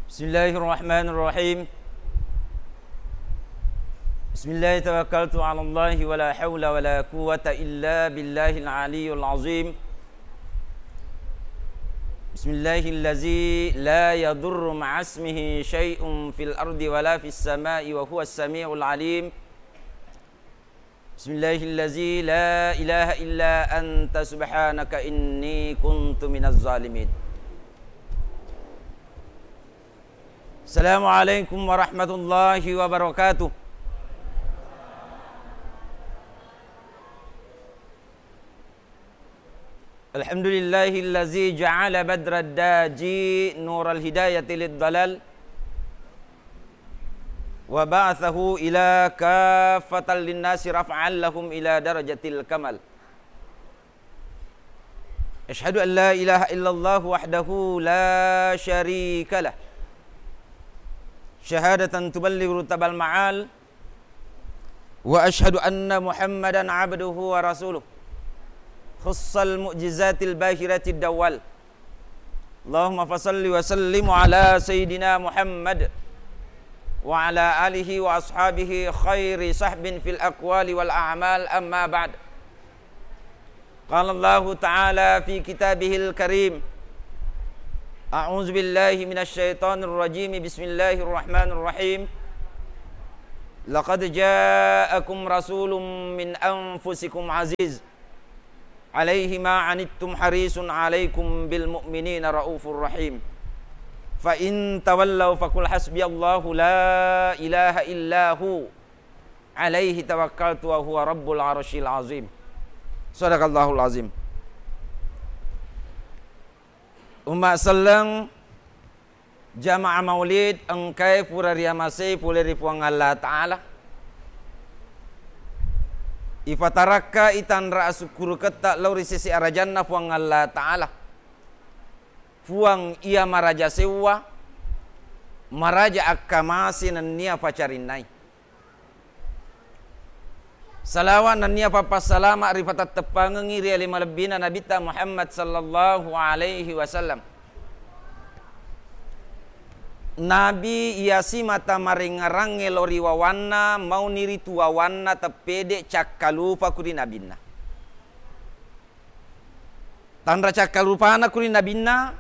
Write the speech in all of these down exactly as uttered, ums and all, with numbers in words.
بسم الله الرحمن الرحيم. بسم الله توكلت على الله ولا حول ولا قوة إلا بالله العلي العظيم. بسم الله الذي لا يضر مع اسمه شيء في الأرض ولا في السماء وهو السميع العليم. بسم الله الذي لا إله إلا أنت سبحانك إني كنت من الظالمين. السلام عليكم ورحمة الله وبركاته. الحمد لله الذي جعل بدر الداجي نور الهداية للضلال وبعثه إلى كافة للناس رفعا لهم إلى درجة الكمال. أشهد أن لا إله إلا الله وحده لا شريك له شهادة تبلغ رتب المعال، وأشهد أن محمدا عبده ورسوله خص المعجزات الباهرة الدوال. اللهم فصل وسلم على سيدنا محمد وعلى آله وأصحابه خير صحب في الأقوال والأعمال، أما بعد. قال الله تعالى في كتابه الكريم، أعوذ بالله من الشيطان الرجيم، بسم الله الرحمن الرحيم. لقد جاءكم رسول من أنفسكم عزيز عليه ما عنتم حريص عليكم بالمؤمنين رءوف رحيم. فإن تولوا فقل حسبي الله لا إله إلا هو عليه توكلت وهو رب العرش العظيم. صدق الله العظيم. Umma selleng, jamaah maulid engkae pura riamasei pole ri Puang Allah Ta'ala. Ipatarakka itanra asukkuruketta lao ri sese arajanna Puang Allah Ta'ala. Puang iya maraja sewwa, maraja akkamase nennia pacarinnai. Salawa nennia pappassalama ripatetteppangengngi ri ale malebbina Nabitta Muhammad sallallahu alaihi wasallam. Nabi iya simata marengngerangnge lao ri wawanna, mauni ritu wawanna teppede cakkalupa ku ri nabinna. Tanra cakkalupana ku ri nabinna,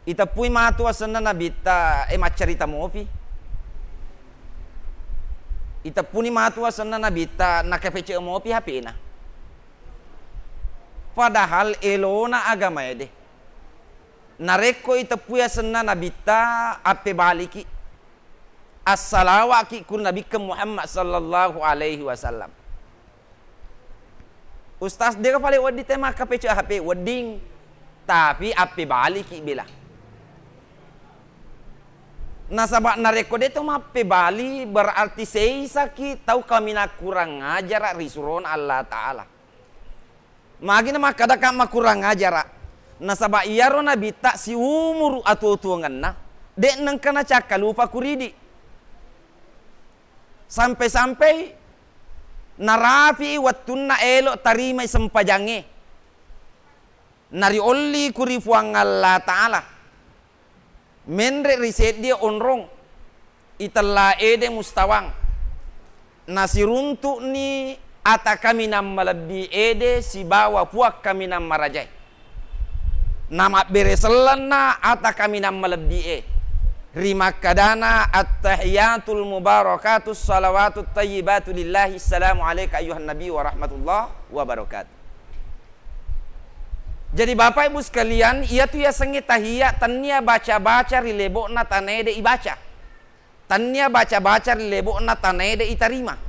iteppui matu asenna nabitta, e, maccarita mopi. Iteppuni matu asenna nabitta, nakapecce mopi H P-na. Padahal elona agama ede. Narekko iteppui asenna nabitta, appebaliki. Assalawaki ku nabikkeng Muhammad sallallahu alaihi wasallam. Ustaz, de' ka pale wedding te makkapecce H P, wedding. Tapi appebaliki bela. Nasaba narekko de' to mappebali, berarti seisaki tau kaminang kurang ajara ri surona Allah Ta'ala. Magi na makkadaka makurang ajara? Nasaba iyaro nabitta siumuru atuo-tuongenna, de' nengka nacakkalupa kuridi. Sampai-sampai narapi'i wettunna elo tarimai sempajangnge. Nariolli ku ri Puang Allah Ta'ala. Menre ri seddie onrong, itella ede mustawang. Nasiruntu'ni ata kaminang malebbi ede sibawa Puang kaminang marajae. Namabbere sellenna ata kaminang malebbi e. Rimakkadana, "Attahiyatul mubarakatus salawatut tayyibatu lillahi, assalamu alaika ayyuhan nabi wa rahmatullah wa barakatuh." Jadi, Bapak Ibu sekalian, iyatu yasengnge tahiyya tennia baca-baca ri lebo'na tanae de' ibaca. Tennia baca-baca ri lebo'na tanae de' itarima.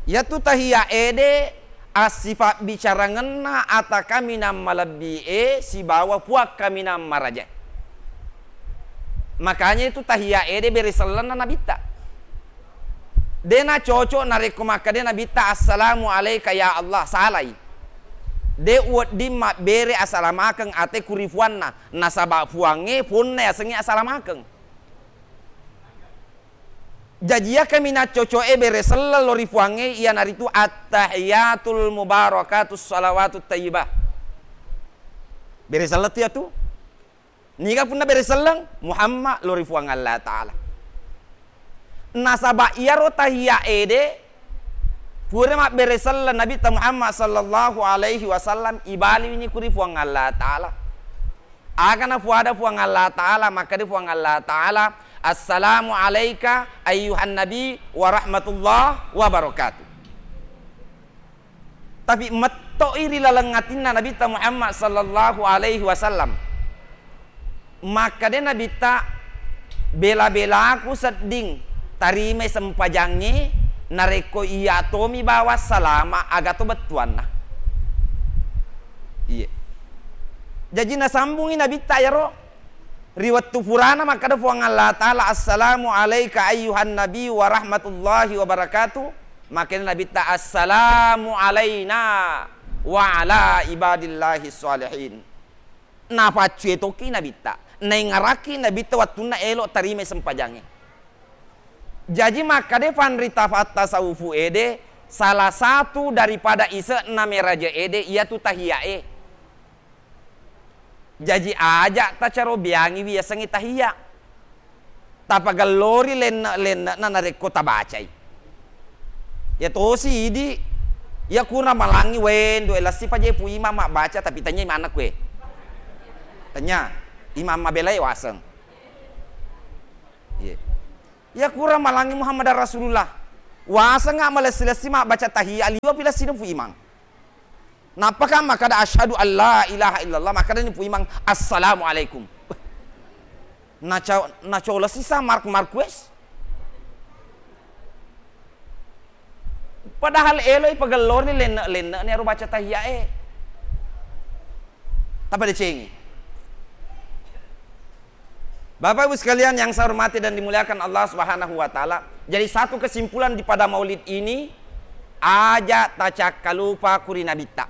Iyatu tahiyya ede assifabbicarangenna ata kaminang malebbi e sibawa Puang kaminang marajae. Makanya itu tahiyya ede bere sellenna nabitta. De' nacocok narekko makkeda nabitta, "Assalamu alaika ya Allah," salai. De' wedding mabbere asalamakeng ate ku ri Puanna, nasaba Puangnge Puanna yasengnge asalamakeng. Jaji iya kaminang coco'e bere selleng lao ri Puangnge iyanaritu attahiyatul mubarakatus salawatut tayyibah. Bere selleng tu iyatu. Niga punna bere selleng? Muhammad lao ri Puang Allah Ta'ala. Nasaba iyaro tahiyya ede pura mabbere selleng Nabitta Muhammad sallallahu alaihi wasallam, ibaliwini ku ri Puang Allah Ta'ala. Aga napuada Puang Allah Ta'ala, makkeda Puang Allah Ta'ala, "Assalamu alaika ayyuhan nabi wa rahmatullah wa barakatuh." Tapi metto'i ri laleng atinna Nabitta Muhammad sallallahu alaihi wasallam. Makkeda Nabitta, "Bela-belaku sedding tarimai sempajangnge, narekko iya tomi bawang salama, aga to bettuanna." Iye. Jaji nasambungi Nabitta iyaro ri wettu purana makkeda Puang Allah Ta'ala, "Assalamu alaika ayyuhan nabi wa rahmatullahi wa barakatuh." Makkeda Nabitta, "Assalamu alaina wa ala ibadillahi shalihin." Napaccue tokki Nabitta, naingarakki Nabitta wettunna elo tarimai sempajangnge. Jaji makkeda panrita fatta saufu ede, salah satu daripada ise'na meraja ede iyatu tahiyya e. Jaji aja tacarobeangiwi yasengnge tahiyya. Tapagellori lenne'-lenne'na narekko tabacai. Iya tosi idi, iya kura malangngi, wendu e, lessipa je Pu Imang mabbaca, tapi tanya imanna kue. Tanya, imang mabelai waseng. Iya. Iya kura malangngi Muhammadar Rasulullah. Wasengnga malessi-lessi mabbaca tahiyya, liwa pi lessina Pu Imang. Nappaka makkada, "Asyhadu an la ilaha illallah," makkadani Pu Imang, "Assalamualaikum." Naca-, nacolesi sa Mark Marquez. Padahal eloi pagellorni lenne'-lenne'ni ero baca tahiyya e. Tapadecengi. Bapak Ibu sekalian yang saya hormati dan dimuliakan Allah Subhanahu wa Ta'ala, jadi satu kesimpulan di pada maulid ini, aja tacakkalupa ku ri Nabitta.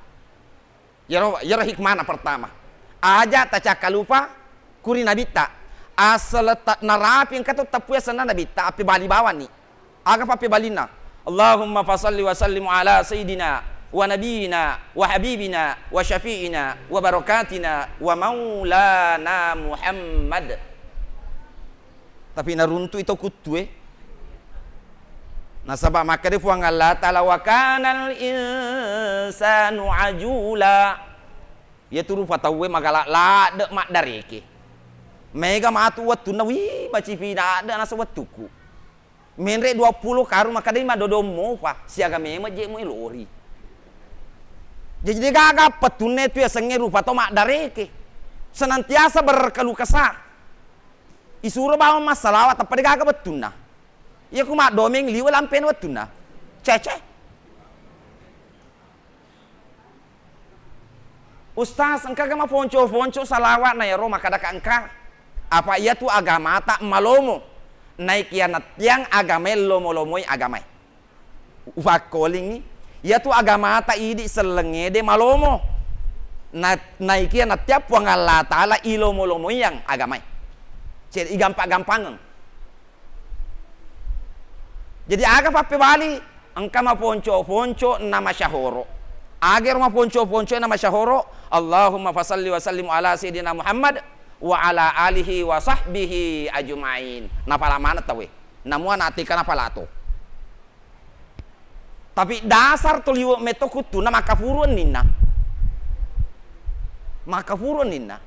Yero, yero hikmana pertama. Aja tacakkalupa ku ri Nabitta. Asal ta-, narapi engka to teppu yasenna Nabitta, appebali bawanni. Aga pappebalinna? Allahumma fasalli wa sallim ala sayyidina wa nabiyina wa habibina wa syafi'ina wa barakatina wa maulana Muhammad. Tapi naruntui to kuttue. Nasaba makkeda Puang Allah Ta'ala, "Wa kanal insanu ajula." Iyatu rupa tauwe magala ladde maddareke. Mega matu wettunna, "Wih, macipina adde nasa wettuku." Menre dua puluh karung makkadai madodong mopa, siaga memeng je mu elori. Jadi degaga pettunna tu yasengnge rupa tau maddareke. Senantiasa berkeluh kesah. Isuro bawang massalawa, tappa degaga wettunna. Iya ku maddomeng liwe lampena wettunna. Cece. Ustaz, engkaga maponco-ponco salawa'na iyaro makkadaka engka? Apa iyatu agamata malomo. Naikiya nattiang agamae lomo-lomoi agamae. Ufakkolingngi, iyatu agamata idi sellengngede malomo. Na-, naikiya nattiang Puang Allah Ta'ala ilomo-lomoiang agamae. Ce-, igampa-gampangeng. Jadi aga pappebali? Engka maponco-ponco na masyahoro. Agero maponco-ponco na masyahoro, Allahumma fasalli wa sallim ala sayyidina Muhammad wa ala alihi wa sahbihi ajma'in. Napala maneng tauwe. Namua nateka napala to. Tapi dasar to liwe metto kuttuna makkafuru enninna. Makkafuru enninna.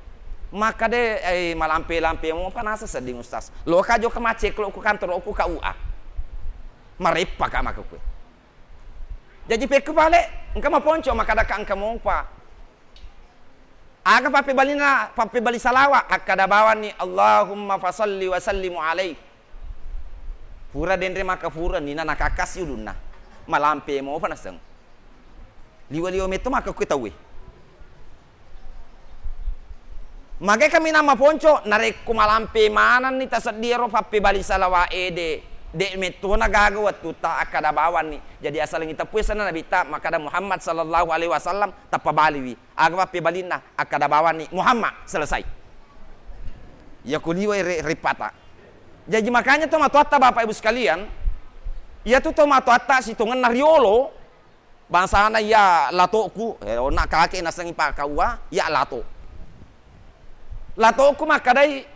Makkade, eh, malampe-lampe mopa nasa sedding Ustaz. Loka jokka macceklo ku kantoro ku K U A. Mareppa ka maka kue. Jaji pekku pale, engka maponco makkadaka engka mopa. Aga pappebalina, pappebali salawa, akkada bawanni, "Allahumma fasalli wa sallimu alaih." Pura denre makkafuru enninna, nakakkasi ulunna. Malampe mopa naseng. Liwa-liwa metto makkakue tauwe. Magai kaminang maponco, narekko malampe manenni taseddie ro pappebali salawa ede, de mettona gaga wettutta akkada bawanni. Jadi asalengi teppu yasenna Nabitta makkada Muhammad sallallahu alaihi wasallam, tappa baliwi. Aga pappebalinna? Akkada bawanni Muhammad, selesai. Iya ko liwai re-, rippata. Jaji makanya tomatoatta Bapak Ibu sekalian, iyatu tomatoatta sitongenna riolo, bangsana iya latoku, eh, onna kake nasengi pakkaua, iya lato. Latoku makkedai,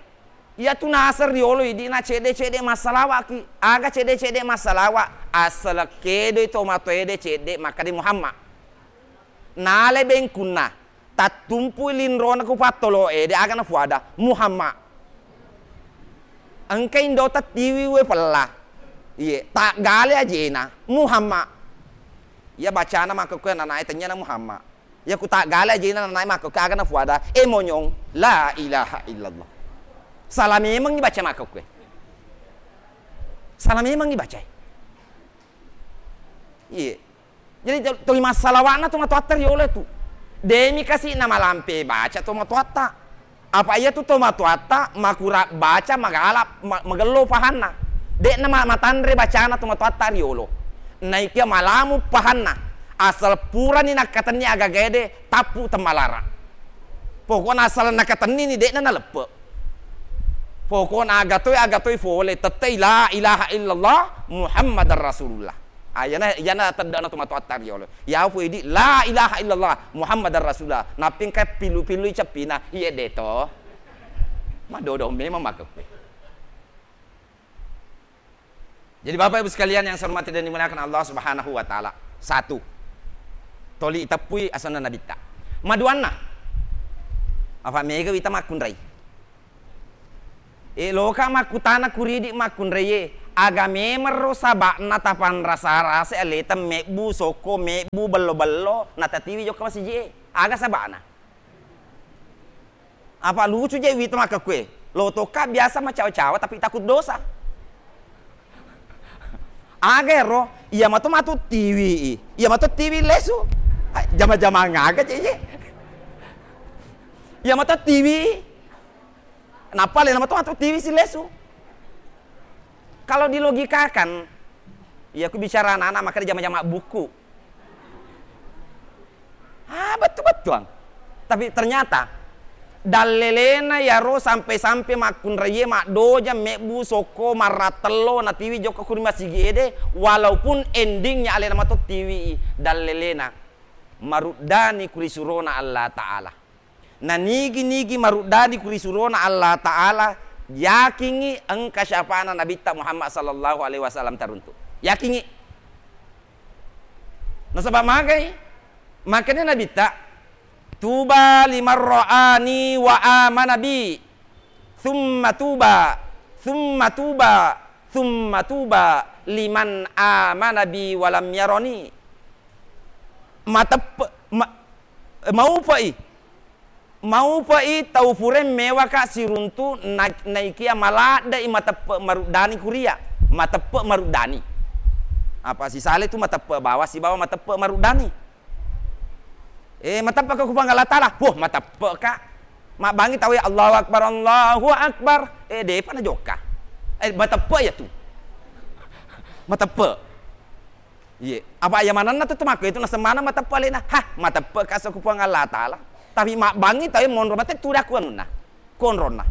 iyatu naseng riolo idi na cedde-cedde massalawaki. Aga cedde-cedde massalawa? Assaleng kedoi tomatoede cedde makkedai Muhammad. Nalai bengkunna, tattumpui linrona ku pattolo'e, de aga nafuada, Muhammad. Engka indo tattiwi we pella. Iye, taggale ajena, Muhammad. Iya bacana makkekkoe ananae tennyana Muhammad. Iya ku taggale ajena ananae makkekkoe aga nafuada, e monyong, la ilaha illallah. Salah memengngi baca makkekkoe. Salah memengngi bacae. Iye. Jadi, to-, tuli massalawa'na tomatoatta riolo tu. Demi kasi namalampe baca tomatoatta. Apa iya tu tomatoatta makura baca magala, ma-, magello pahanna. De'na ma-, matanre bacana tomatoatta riolo. Naikia malamu pahanna. Asal purani nakkatenni agagaede tappu temmalara. Pokokna asal nakatennini de'na naleppe. Pokokna agatoi, agatoi fole, tettei la ilaha illallah Muhammadar Rasulullah. Ah, iyana, iyana teddana tomatoatta riolo. Iya fu idi la ilaha illallah Muhammadar Rasulullah. Nappi engka pillu-pillui ceppina, iye deto. Madodo memang makkekkoe. Jadi Bapak Ibu sekalian yang saya hormati dan dimuliakan Allah Subhanahu wa Ta'ala. Satu. Toli iteppui asenna Nabitta. Maduanna. Apa mega wita makkunrai. E, loka makkutana kuridi makkunraie, aga memerro saba'na tapanrasa-rasa aleta mebbu sokko, mebbu bello-bello, natatiwi jokka masiji e? Aga saba'na? Apa lucu je wita makkekkoe, lo tokka biasa macawa-cawa tapi takut dosa. Aga ero, iya mato matu tiwi i, iya mato tiwi lesu. Ai, jama-jamang aga je ye. Iya mato tiwi. Nappa alena mato matu tiwi si lesu. Kalau dilogikakan, iya ku bicara anak-anak maka dijama-jama buku. Ah, bettu-bettuang. Tapi ternyata dallelena yaro sampe-sampe makkunraie maddoja mebbu sokko marrattello natiwi jokka kuri masigi ede, walaupun endingnya alena mato tiwi i dallelena maruddani kuri surona Allah Ta'ala. Na nigi-nigi maruddani kuri surona Allah Ta'ala, yakingngi engka syafa'na Nabitta Muhammad sallallahu alaihi wasallam taruntu. Yakingngi. Nasaba magai? Makanya Nabitta, "Tuba liman ra'ani wa amana bi, thumma tuba, thumma tuba, thumma tuba liman amana bi wa lam yarani." Mateppe-, ma-, maupai. Maupai tau purae mewaka siruntu na-, naikia maladde'i mateppe maruddani kuria. Mateppe maruddani. Apa sisale tu mateppe bawa sibawa mateppe maruddani. Eh, mateppe ka ku Puang Allah Ta'ala. Wah, mateppe ka. Mabbangi tau ya Allahu Akbar, Allahu Akbar. Eh, depa na jokka. Eh, mateppe ya tu. Mateppe. Iye, apa iya manenna tu temakko itu naseng maneng mateppe alena. Hah, mateppe ka so ku Puang Allah Ta'ala. Tapi mabbangi tau monro mate tu daku anunna. Konronna.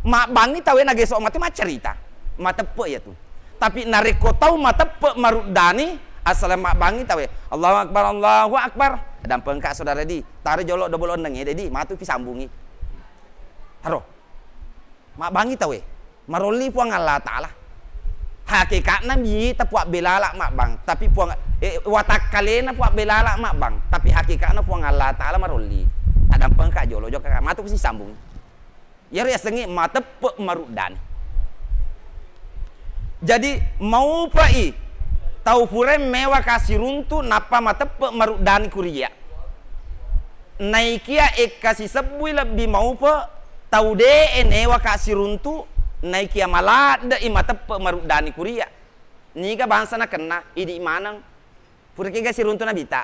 Mabbangi tau nageso mate maccarita. Mateppe iya tu. Tapi narekko tau mateppe maruddani, asal mabbangi tau, Allahu Akbar, Allahu Akbar. Dampengka saudara di, taro jolo dobol onneng ede di, matu pi sambungi. Haro. Mabbangi tauwe, marolli Puang Allah Ta'ala. Hakikatna mita Puang Belala mabbang, tapi Puang, eh, watakkalena Puang Belala mabbang, tapi hakikatna Puang Allah Ta'ala marolli. Tadampengka jolo jokka, matu sisambung. Iyaro yasengnge mateppe maruddani. Jadi, maupai tau purae mewaka siruntu nappa mateppe maruddani kuria. Naikia ekka sisebbui lebbi maupe tau de'e newaka siruntu, naikia maladde'i mateppe maruddani kuria. Niga bangsa nakenna idi maneng. Puraki ga siruntu nabita.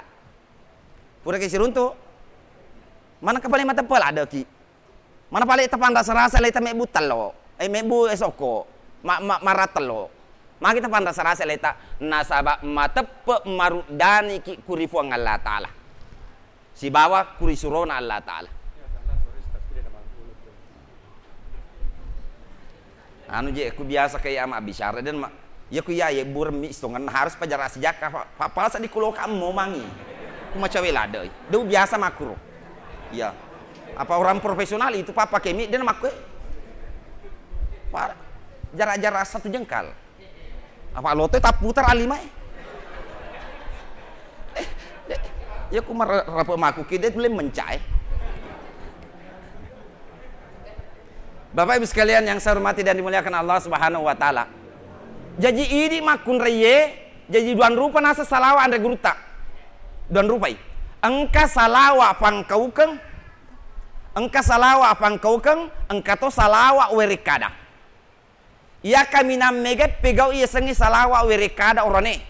Puraki siruntu. Maneng kapale mateppe laddeki. Mana pale tapanrasa-rasa leta mebbu tello, eh, mebbu, eh, sokko, ma-, ma-, marra tello. Magi tapanrasa-rasa leta, nasaba mateppe maruddaniki kuri Puang Allah Ta'ala. Sibawa kuri surona Allah Ta'ala. Anu je, ku biasa kayak ama bicara dan ma-, iya ku iya, iya burem mi istongan harus pajarasi jakka, pa-, pa-, pala sadi kulo kammo mangi. Ku macawe ladde. Deu biasa makuro. Iya. Apa orang profesional itu papa kemi dia makku. Parah. Jarak-jarak satu jengkal. Apa loto tapputar alimai. Eh, de-, ya ku marape maku ki de tulen mencai. Bapak Ibu sekalian yang saya hormati dan dimuliakan Allah Subhanahu wa Ta'ala. Jaji idi makkunraiye, jaji duang rupa nasa salawa anre gurutta. Duang rupai. Engka salawa pangkaukeng, engka salawa pangkaukeng, engka to salawa werekkada. Iya kaminang mega pegau iya sengnge salawa werekkada orane.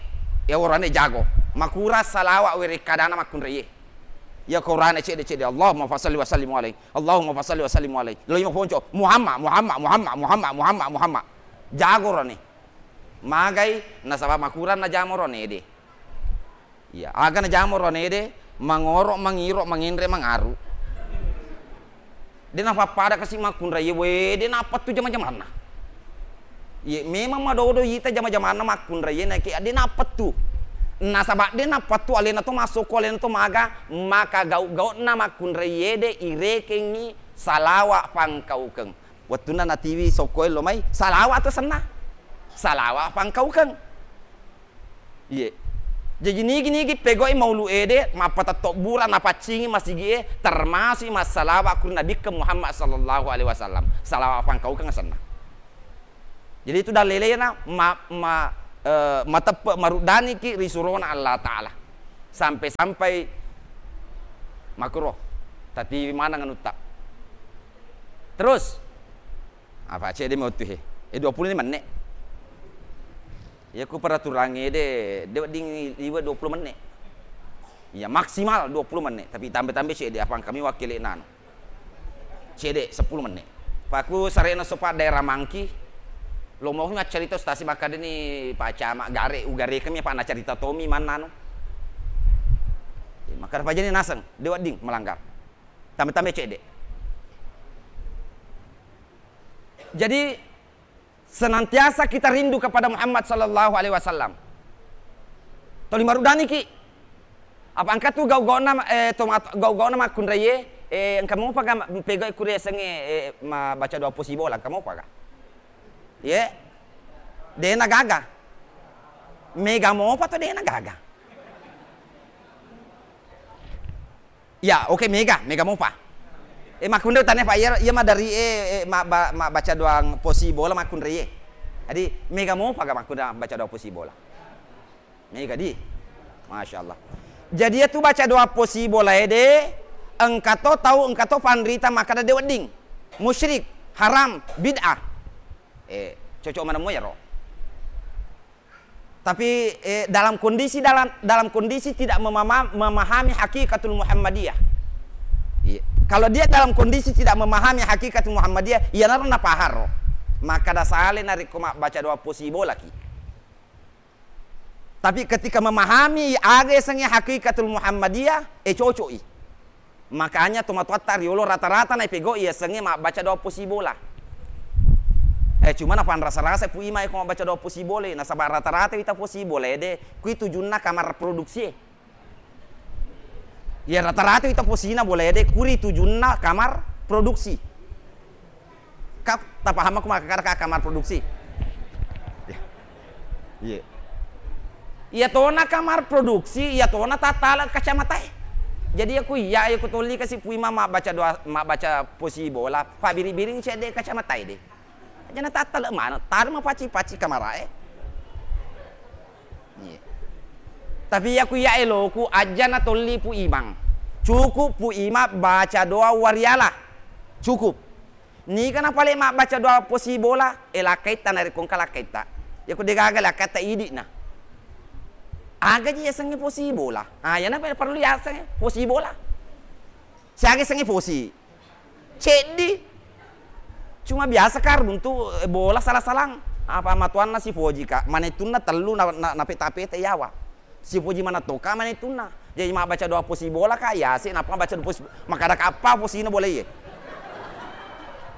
Ya orane jago. Makura salawa werekkadana makkunraiye. Iya ko orane cedde-cedde, Allahumma fasalli wa sallim alaihi. Allahumma fasalli wa sallim alaihi. Lo iya maponco, Muhammad, Muhammad, Muhammad, Muhammad, Muhammad, Muhammad. Jago orane. Magai nasaba makurang najama orane de. Iya, aga najama orane de, mangoro, mangiro, mangenre, mangaru. De napappada kasi makkunraiye, we, de napettu jama-jamanna. Iye, memang madodo ita jama-jamanna makkunraiye, naiki de napettu. Nasaba de napettu alena to masokko, alena to maga, maka gau-gauna makkunraiye de irekengngi salawa pangkaukeng. Wettunna natiwi sokkoe lo mai, salawa to senna. Salawa pangkaukeng. Iye. Jaji nigi-nigi pegau'i maulu ede, mappatetto bura napaccingi masigi e, termasuk massalawa ku Nabikke Muhammad sallallahu alaihi wasallam. Salawa pangkaukeng asenna. Jadi itu dalilena ma-, ma-, eh, mateppe maruddaniki ri surona Allah Ta'ala. Sampai-sampai makuro tatiwi maneng anutta. Terus, apa cedde mi wettu he? Eh, dua puluh lima menit. Iya, ku peraturangnge de, de wedding liwe dua puluh menit. Iya, maksimal dua puluh menit, tapi tambe-tambe cedde, apa engkami wakkele nanu. Cedde sepuluh menit. Paku sarena sopa daerah Mangki, lo mau nggak cerita stasi makkadani Pak Camat gare, ugare kami apa na cerita tomi mananu. Maka apa jadi naseng, de wedding melanggar. Tambe-tambe cedde. Jadi, senantiasa kita rindu kepada Muhammad sallallahu alaihi wasallam. Toli maruddaniki. Apa engka tu gau-gauna, eh, to mat-, gau-gauna makkunraiye, eh, engka mopa ga ma-, pegau'i kuriasengnge, eh, ma-, baca doa posibola, engka mopa ga? Ye? Dena gaga. Mega mopa to dena gaga. Ya, oke, mega, mega mopa. Eh, makkunrai tane, Pak, iya, iya madari, eh, eh, ma-, ba-, ma-, baca doang posibola makkunrai, eh. Jadi, mega mopa ga makkunrai baca doang posibola? Mega di. Masya Allah. Jadi, iya tu baca doang posibola ede, engka to tau, engka to panrita makkada de wedding. Musyrik, haram, bid'ah. Eh, cocok mana mo iyaro. Tapi, eh, dalam kondisi, dalam, dalam kondisi tidak memama-, memahami hakikatul Muhammadiyah. Iya. Kalau dia dalam kondisi tidak memahami hakikatul Muhammadiyah, iyanaro napaharo. Makkada sale narekko mabbaca doa posibolaki. Tapi ketika memahami aga yasengnge hakikatul Muhammadiyah, eh, coco'i. Makanya tomatoatta riolo rata-rata naipegau yasengnge mabbaca doa posibola. Eh, cuma napanrasa-rasa Pu Ima ko mabbaca doa posibola, nasaba rata-rata wita posibola ede, kui tujunna kamar produksi. Ya, rata-rata wita posina bola ede, kuri tujunna kamar produksi. Ka, tapaham aku makkada ka kamar produksi? Iya. Iya tona kamar produksi, iya tona tattala kacamatae. Jadi aku iya, aku tolli kasi Pu Ima mabbaca doa, mabbaca posibola, pabiri-biring cedde kacamatae de. Aja na tattala mana, tari mapaci-paci kamarae. Iya. Tapi iya ku iya eloku, aja na tolli Pu Imang. Cukup Pu Ima baca doa wariala. Cukup. Niga napale mabbaca doa posibola, e lakkaitta narekko engka lakkaitta. Iya ku degaga lakkaitta idi'na. Aga ji yasengnge posibola. Ah, iyana perlu yasengnge posibola. Siaga yasengnge posi? Ceddi. Cuma biasa ka runtu, eh, bola sala-salang. Apa matuanna sipoji ka, manettunna tellu na, na, napeta-peta yawa. Sipoji manettoka manettunna. Jadi mabbaca doa posi bola ka, yase, nappa mabbaca doa posi, makkada kappa posina bola iye.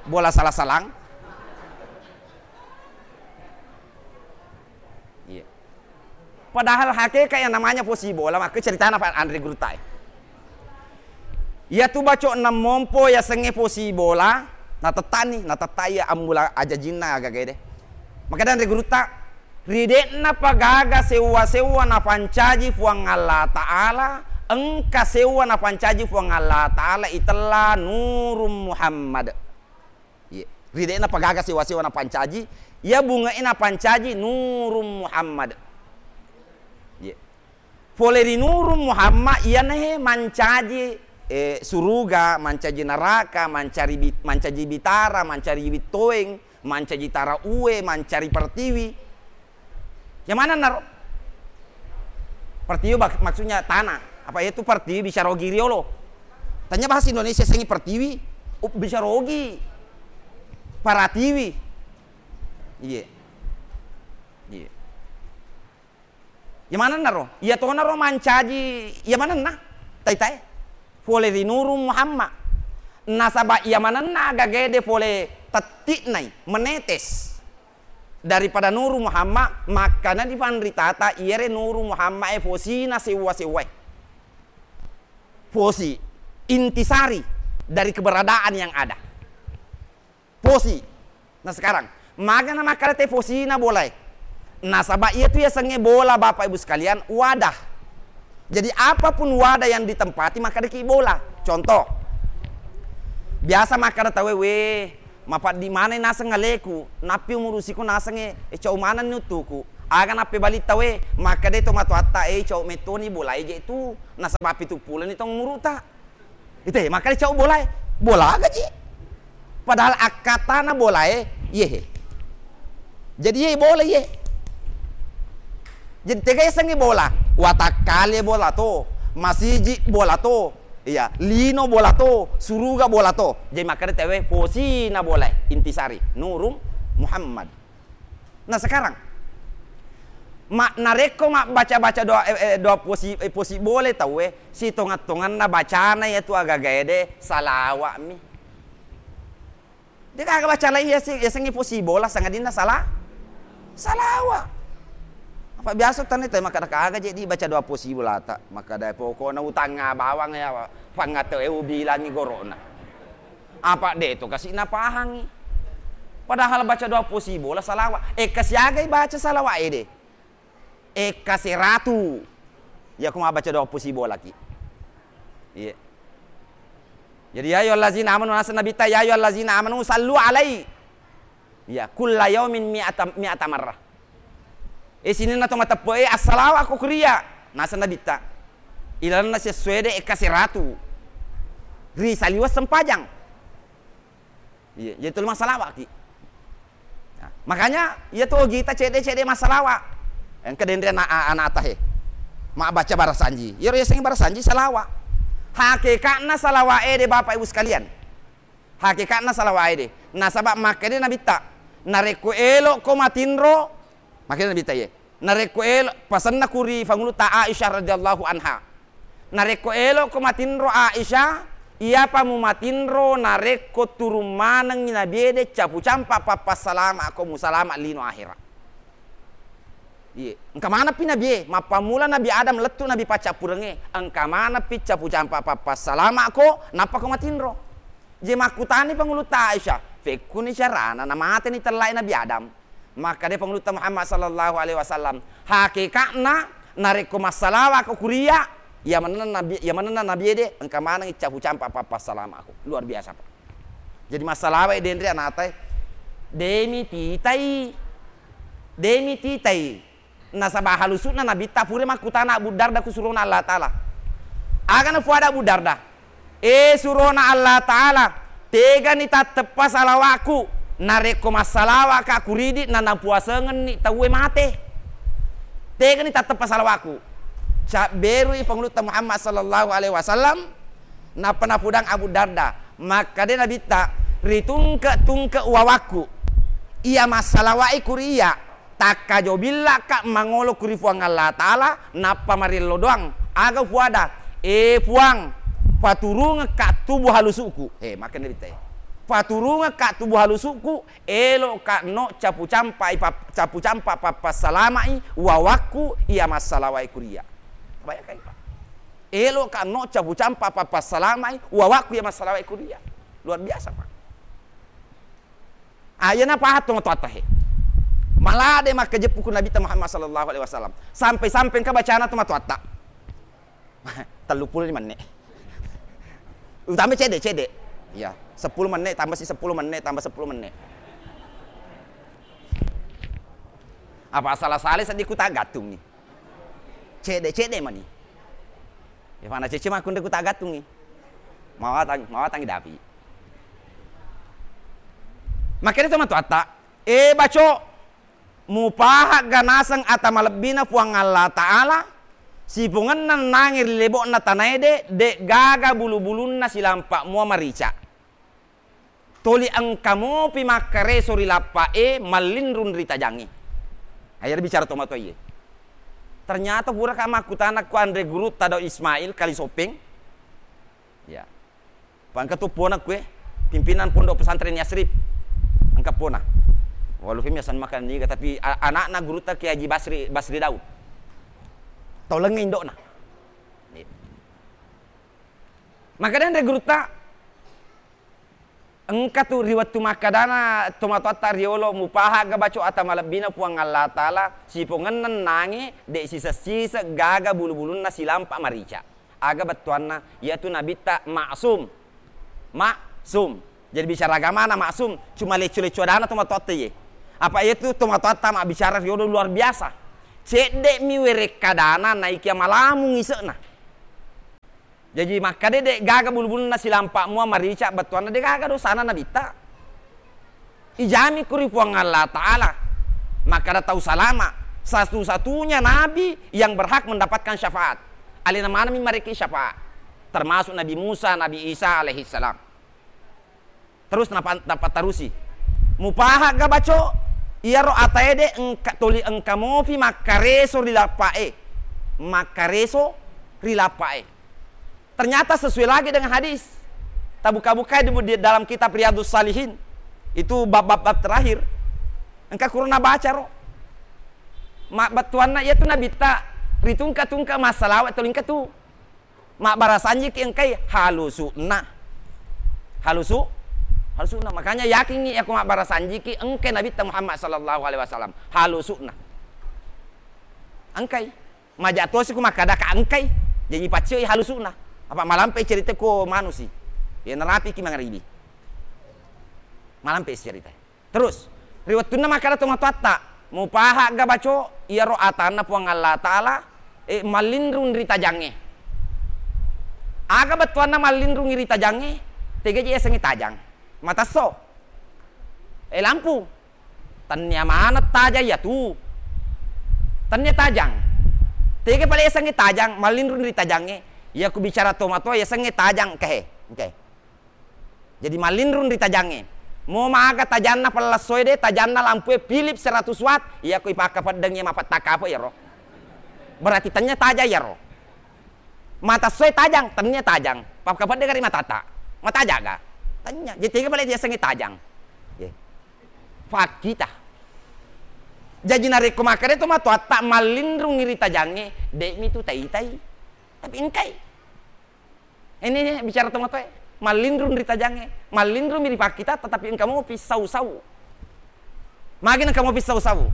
Bola sala-salang. Iya. Padahal hakikat yang namanya posi bola, maka ceritana Pak Andre Gurtai. Iyatu baco'na mompo yasengnge posi bola, natettani, natetta iya ammula ajajinna agagede. Makkeda anre gurutta, ri de'na pagaga sewwa-sewwa napancaji Puang Allah Ta'ala, engka sewwa napancaji Puang Allah Ta'ala itella Nurung Muhammad. Iye. Ri de'na pagaga sewwa-sewwa napancaji, iya bunge'e napancaji Nurung Muhammad. Iye. Pole ri Nurung Muhammad, iyanahe mancaji, eh, suruga, mancaji naraka, mancari bi-, mancaji bitara, mancari bittoeng, mancaji tara uwe, mancari pertiwi. Yang mana naro? Pertiwi bak-, maksudnya tanah. Apa itu pertiwi bisa rogi riolo? Tanya bahasa Indonesia sengi pertiwi, up-, bisa rogi. Paratiwi. Iye. Iye. Iya manenna ro? Iya tona ro mancaji, iya manenna? Tai-tai. Pole ri Nurung Muhammad. Nasaba iya manenna agagede pole tetti'nai, menetes. Daripada Nurung Muhammad, makkana di panritata iyere Nurung Muhammad e posina sewwa-sewwae. Posi, intisari dari keberadaan yang ada. Posi. Nah, sekarang, magana makkada te posina bolae? Nasaba iyatu yasengnge bola, Bapak Ibu sekalian, wadah. Jadi, apapun wadah yang ditempati, makkadaki bola. Contoh, biasa makkada tauwe, "We, mapaddi maneng naseng aleku, nappi umurusiku nasengnge, e, cau manenni uttuku." Aga nappebali tauwe, makkada to matoatta, "E, cau mettoni bolae je tu, nasaba pitu puloni tong umuruta." Ite, makkeda cau bolae, bola aga ci. Padahal akkatana bolae, iyehe. Jadi iye bola iye. Jadi tega yasengnge bola, watakkale bola to, masiji bola to, iya, lino bola to, suruga bola to. Jadi makkeda tauwe posina bolae, intisari, Nurung Muhammad. Nah, sekarang, ma-, narekko mabbaca-baca doa, eh, eh, doa posi, eh, posi bole tauwe, sitongeng-tongenna bacana iyatu agaga ede salawa'mi. De gaga baca lai yase-, yasengnge posi bola sangadinna sala-, salawa. Apa biasa tane tauwe makkada aga je dibaca doa posi bolata, makkada pokokna utangnga bawang ya, pangngate ubilangi gorona. Apa de to kasi napahangi. Padahal baca doa posi bola salawa. Ekka siagai baca salawa ede. Ekka seratu. Iya ko mabbaca doa posi bola ki. Iya. Jadi, ya ayyuhallazina amanu, naseng Nabitta, ya ayyuhallazina amanu sallu alai. Iya, kulla yaumin mi'ata, mi'ata marrah. E, sininna to mateppe'e, assalawa ko kuria. Naseng Nabitta. Ilalenna sessuede ekka seratu. Ri saliweng sempajang. Iya, jadi tuli massalawa ki. Nah, makanya, iya tu ogita cedde-cedde massalawa. Engka denre ana-, a-, anata he. Mabbaca barasanji. Iyaro yasengnge barasanji salawa. Hakekatna salawa ede, Bapak Ibu sekalian. Hakekatna salawa ede. Nasaba makkeda Nabitta, narekko elokko matinro, makkeda Nabitta iye. Narekko elo-, pasenna ku ri Pangulutta Aisyah radhiyallahu anha. Narekko elokko matinro Aisyah, iyapa mumatinro narekko turung manengngi Nabiede capu campa pappassalama'ko musalama lino ahera. Iye, engka manappi Nabie, mappammula Nabi Adam lettu Nabi paccappurengnge, engka manappi capu campa pappassalama'ko, nappako matinro. Je makkutani Pangulutta Aisyah, fekkuni carana namateni tellae Nabi Adam? Makkeda Pangulutta Muhammad sallallahu alaihi wasallam, hakeka'na narekko massalawako kuria, iya manenna Nabi, iya manenna Nabiede engka manengngi capu campa pappassalama'ko. Luar biasa, Pak. Jadi massalawae denre anatae, demi titai, demi titai. Nasaba halusu'na Nabitta pura makkutana Abu Darda ku surona Allah Ta'ala. Aga nafuada Abu Darda? E surona Allah Ta'ala, tegani tatteppa salawakku narekko massalawaka kuridi na napuasengenni tauwe mate? Tegani tatteppa salawakku? Cabberui Pangulutta Muhammad sallallahu alaihi wasallam, nappa napudang Abu Darda, makkeda Nabitta, ritungke-tungke wawakku iya massalawae kuri iya, takkajobillaka mangolo kuri Puang Allah Ta'ala, nappa marillo doang. Aga ufuada? E Puang, paturungekka tubu halusu'ku. He, makkeda Nabitta e. Paturungekka tubu halusu'ku, elo'ka no capu campai pap-, capu campa pappassalama'i wawakku iya massalawae kuri iya. Bayangkan, Pak. Elo ka no capu campa papassalamai, uwawakku iya massalawae kuliah. Luar biasa, Pak. Ah, iyana pahang tomatoatta he. Malade makkajeppu ku Nabitta Muhammad sallallahu alaihi wasallam. Sampai-sampai engka bacana tomatoatta. Telluppulo lima menit. Utama cede, cede. Iya, seppulo menit, tambah si seppulo menit, tambah seppulo menit. Apa salah-salah seddi ku tagattungi. Cede-cede mani. Ya, fana cece makkunre ku tagattungi. Mawatang, mawatangi dapi. Makanya tomatoatta, eh, baco, mupahagga naseng ata malebbina Puang Allah Ta'ala, sipongenna nangi ri lebo'na tanae de, de gaga bulu-bulunna silampa mua marica. Toli engka mopi makkareso ri lappa'e, mallinrung ri tajangnge. Aja bicara tomatoae. Ternyata pura ka makkutana ku anre gurutta Daud Ismail Kalisopeng. Ya. Pangka tu pona kue, pimpinan Pondok Pesantren Yasrib. Engka pona. Walu femi asan makan niga, tapi a-, anakna gurutta Kiai Haji Basri, Basri Daud. Tau lengnge indokna. Iya. Maka dan anre gurutta, engka tu ri wettu makkadana tomatoatta riolo, mupahagga baco ata malebbina Puang Allah Ta'ala, sipongenna nangi, de siseng-siseng gaga bulu-bulunna silampa marica. Aga bettuanna, iyatu Nabitta maksum. Maksum. Jadi bicara agamana maksum, cuma lecco-lecco adana tomatoatta ye. Apa iyatu tomatoatta mabbicara riolo luar biasa. Cedde mi werekkadana naikia malamu ise'na. Jaji makkeda de gaga bulu-bulunna silampa mua marica, bettuanna de gaga dosana Nabitta. Ijami ku ri Puang Allah Ta'ala. Makkeda tau salama, satu-satunya nabi yang berhak mendapatkan syafaat. Alena maneng mi marekki syafaat. Termasuk Nabi Musa, Nabi Isa alaihi salam. Terus napa-, napatarusi. Mupahagga baco, iyaro atae de engka, toli engka mopi makkareso ri lappa'e. Makkareso ri lappa'e. Ternyata sesuai lagi dengan hadis. Tabuka-bukai di, di dalam kitab Riyadhus Shalihin. Itu bab-bab, bab terakhir. Engka kurang baca ro. Ma-, bettuanna iyatu Nabitta ritungka-tungka massalawa toli engka tu. Mabbarasanjiki engkai halusu'na. Halusu-, halusu'na. Makanya yakingngi yako mabbarasanjiki engkai Nabitta Muhammad sallallahu alaihi wasallam. Halusu'na. Engkai. Maja tosi ku makkada ka engkai. Jaji paccoi halusu'na. Apa malampe cerita ko manusi. Ya narapiki mangaribi. Malampe cerita. Terus, ri wettunna makkeda tomatoatta, mupahagga baco, iyaro atanna Puang Allah Ta'ala, eh, mallinrung ri tajangnge. Aga bettuanna mallinrung ri tajangnge, tega je yasengnge tajang. Matesso. Eh, lampu. Tennia maneng tajang iyatu. Tennia tajang. Tega pale yasengnge tajang, mallinrung ri tajangnge. Iya ku bicara tomatoa yasengnge tajang, kehe. Oke. Jadi mallinrung ri tajangnge. Mo maga tajanna pellessoe de, tajanna lampue Philips seratus watt, iya ko ipakkapeddengngi mapetta kape iyaro. Berarti tennia tajang iyaro. Matessoe tajang, tennia tajang. Pakkapedde gari matata. Matajaga. Tennia. Jadi tega pale yasengnge tajang. Ye. Fakkita. Jaji narekko makkeda tomatoatta mallinrung ri tajangnge, de'mi tu taitai. Tapi engkai. Ini, ini bicara tomatoe, mallinrung ri tajangnge, mallinrung mi ri pakkita, tetapi engka mopi sau-sau. Magi engka mopi sau-sau.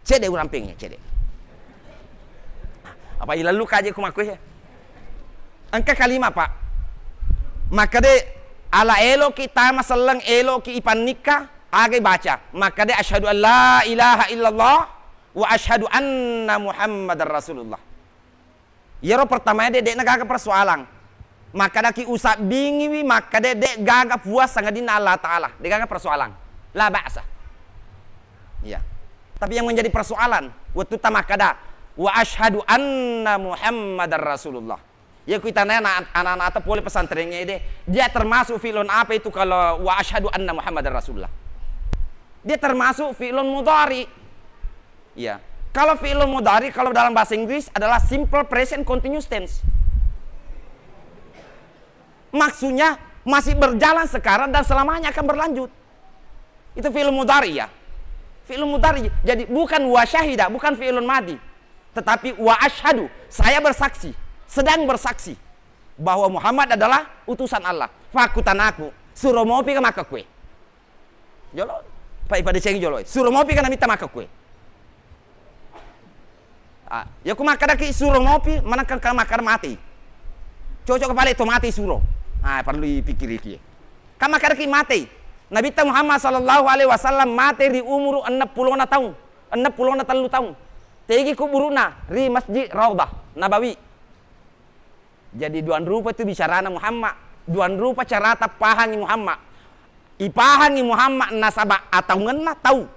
Cede urampengi, cede. Apa ilallu kaje ku makkue? Engka kalima, Pak. Makkede, ala eloki tama selleng, eloki ipannikka, agai baca. Makkede, asyhadu an la ilaha illallah wa asyhadu anna Muhammadar Rasulullah. Iyaro pertamae de, de'na gaga persoalan. Makkedaki usabbingiwi makkeda de gaga puang sangadinna Allah Ta'ala, de gaga persoalan. La ba'sa. Iya. Tapi yang menjadi persoalan, wettutta makkeda, "Wa asyhadu anna Muhammadar Rasulullah." Ya ku itana ana-, anak-anak atau pole pesantrennya de, dia termasuk fi'lun apa itu kalau "Wa asyhadu anna Muhammadar Rasulullah"? Dia termasuk fi'lun mudhari. Iya. Kalau fi'il mudhari kalau dalam bahasa Inggris adalah simple present continuous tense. Maksudnya masih berjalan sekarang dan selamanya akan berlanjut. Itu fi'il mudhari ya. Fi'il mudhari. Jadi bukan wa syahida, bukan fi'il madi. Tetapi wa asyhadu, saya bersaksi, sedang bersaksi bahwa Muhammad adalah utusan Allah. Fakkutanaku, suro mopi ka makkekue? Jolo, pa ipadecengi jolo, suro mopi ka namitta makkekue? Ah, ya ku makkadaki suro mopi, manakka ka makkada mati. Cocok kepala itu mati suro. Ah, perlu dipikiriki. Ka makkadaki mati. Nabitta Muhammad sallallahu alaihi wasallam mati ri umuru enneng pulona taung, enneng pulona tellu taung. Tegi kuburuna ri Masjid Raudhah Nabawi. Jadi duang rupa tu bicarana Muhammad, duang rupa carata pahangi Muhammad. Ipahangi Muhammad nasaba ataungenna tau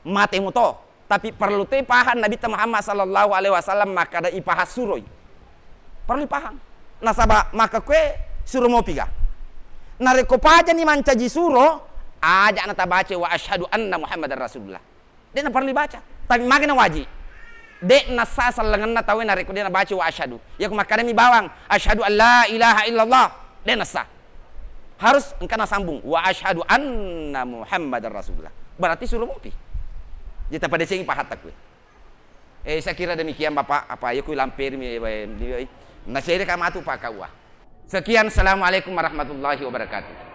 mate muto, tapi perlu toi pahang Nabitta Muhammad sallallahu alaihi wasallam makkada ipahang suroi. Perlu ipahang. Nasaba makkekue suro mopi ga. Narekko pajani mancaji suro, aja natabaca wa asyhadu anna Muhammadar Rasulullah. De' naparellu baca. Tapi magana wajib. De' nassa sellengenna tauwe narekko de' nabaca wa asyhadu. Iya ku makkadami bawang, "Asyhadu an la ilaha illallah." De' nassa. Harus engka nasambung, "Wa asyhadu anna Muhammadar Rasulullah." Berarti suro mopi. Jadi tapadecengi pahatta kuwe. Eh, saya kira demikian, Bapak. Apa, iya ku lamperimi, eh, eh, eh. Nasere ka matu pakkaua. Sekian, assalamualaikum warahmatullahi wabarakatuh.